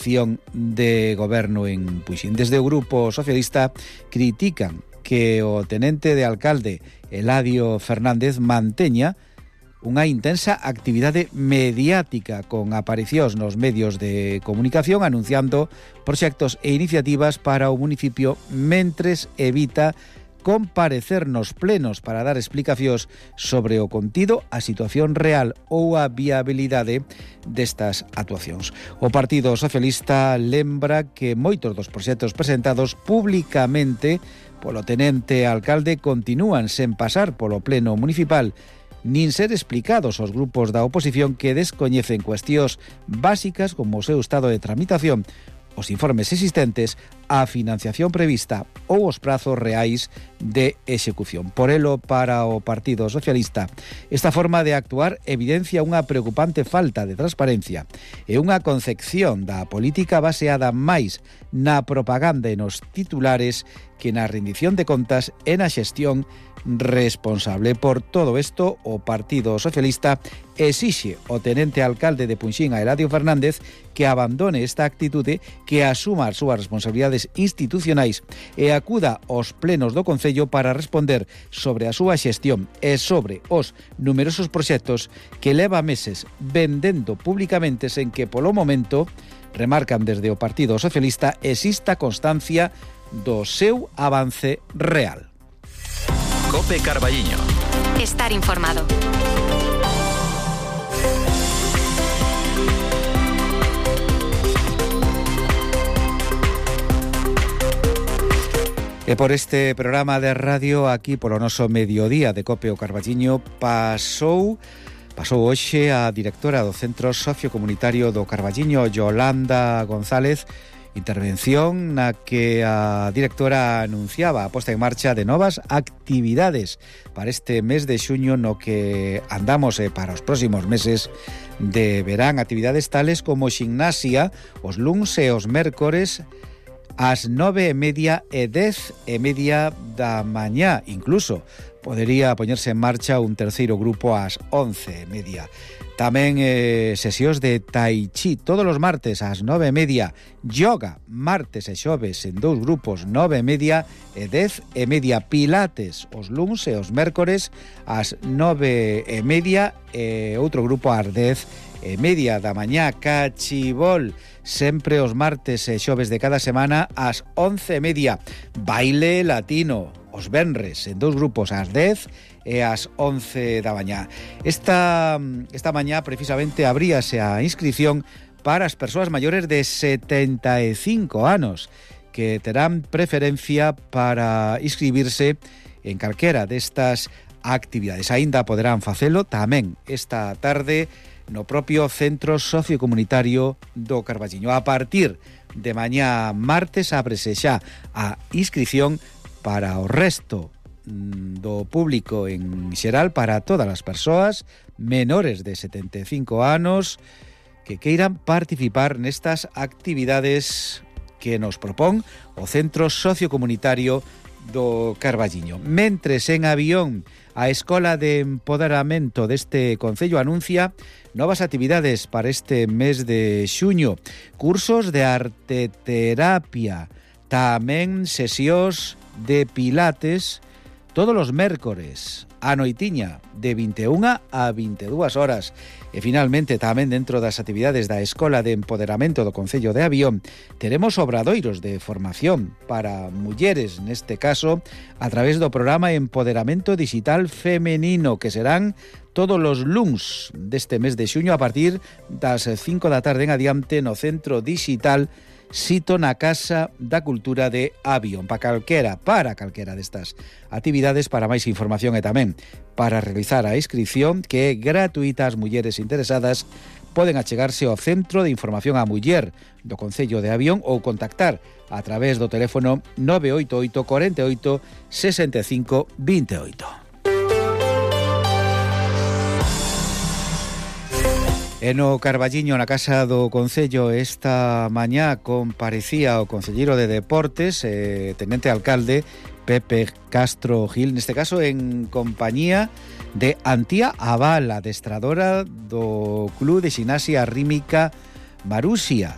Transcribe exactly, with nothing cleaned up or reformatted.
acción de goberno en Puxín. Desde o Grupo Socialista critican que o tenente de alcalde Eladio Fernández manteña unha intensa actividade mediática con aparicións nos medios de comunicación anunciando proxectos e iniciativas para o municipio mentres evita comparecer nos plenos para dar explicacións sobre o contido, a situación real ou a viabilidade destas actuacións. O Partido Socialista lembra que moitos dos proxectos presentados públicamente polo tenente alcalde continúan sen pasar polo pleno municipal nin ser explicados aos grupos da oposición que descoñecen cuestións básicas como o seu estado de tramitación, os informes existentes, a financiación prevista ou os prazos reais de execución. Por elo, para o Partido Socialista, esta forma de actuar evidencia unha preocupante falta de transparencia e unha concepción da política baseada máis na propaganda e nos titulares que na rendición de contas e na xestión responsable. Por todo isto, o Partido Socialista exixe ao tenente alcalde de Punxín, a Eladio Fernández, que abandone esta actitude, que asuma as súas responsabilidades institucionais e acuda aos plenos do Concello para responder sobre a súa xestión e sobre os numerosos proxectos que leva meses vendendo públicamente sen que polo momento, remarcan desde o Partido Socialista, exista constancia do seu avance real. Cope Carballiño. Estar informado. E por este programa de radio aquí polo noso mediodía de Cope o Carballiño pasou pasou hoxe a directora do Centro Sociocomunitario do Carballiño, Yolanda González, intervención na que a directora anunciaba a posta en marcha de novas actividades para este mes de xuño no que andamos e para os próximos meses de verán, actividades tales como ximnasia os luns e os mércores ás nove e media e dez e media da mañá. Incluso podería poñerse en marcha un terceiro grupo ás once e media. Tamén eh, sesións de tai chi todos os martes ás nove e media, yoga martes e xoves en dous grupos nove e media e dez e media, pilates os luns e os mércores ás nove e media e outro grupo ás dez e media da mañá, cachibol sempre os martes e xoves de cada semana ás once e media, baile latino os venres en dous grupos ás dez e ás once da mañá. Esta, esta mañá precisamente abríase a inscripción para as persoas maiores de setenta e cinco anos que terán preferencia para inscribirse en calquera destas actividades. Aínda poderán facelo tamén esta tarde no propio Centro Sociocomunitario do Carballiño. A partir de mañá martes ábrese xa a inscripción para o resto do público en xeral, para todas as persoas menores de setenta e cinco anos que queiran participar nestas actividades que nos propón o Centro Sociocomunitario do Carballiño. Mentres en avión, a Escola de Empoderamento deste Concello anuncia novas actividades para este mes de xuño, cursos de arteterapia, tamén sesións de pilates todos os mércores a noitiña de vinte e unha a vinte e dúas horas. E finalmente tamén dentro das actividades da Escola de Empoderamento do Concello de Avión teremos obradoiros de formación para mulleres, neste caso a través do programa Empoderamento Digital Femenino, que serán todos os luns deste mes de xuño a partir das cinco da tarde en adiante no Centro Digital sito na Casa da Cultura de Avión. Para calquera, para calquera destas actividades, para máis información e tamén para realizar a inscripción, que é gratuita, as mulleres interesadas poden achegarse ao Centro de Información á Muller do Concello de Avión ou contactar a través do teléfono nove oito oito, cuarenta e oito, sesenta e cinco, veintiocho. E no Carballiño, na Casa do Concello, esta mañá comparecía o concelleiro de Deportes, eh, tenente alcalde Pepe Castro Gil, neste caso en compañía de Antía Abal, adestradora do Club de Ximnasia Rítmica Marusia.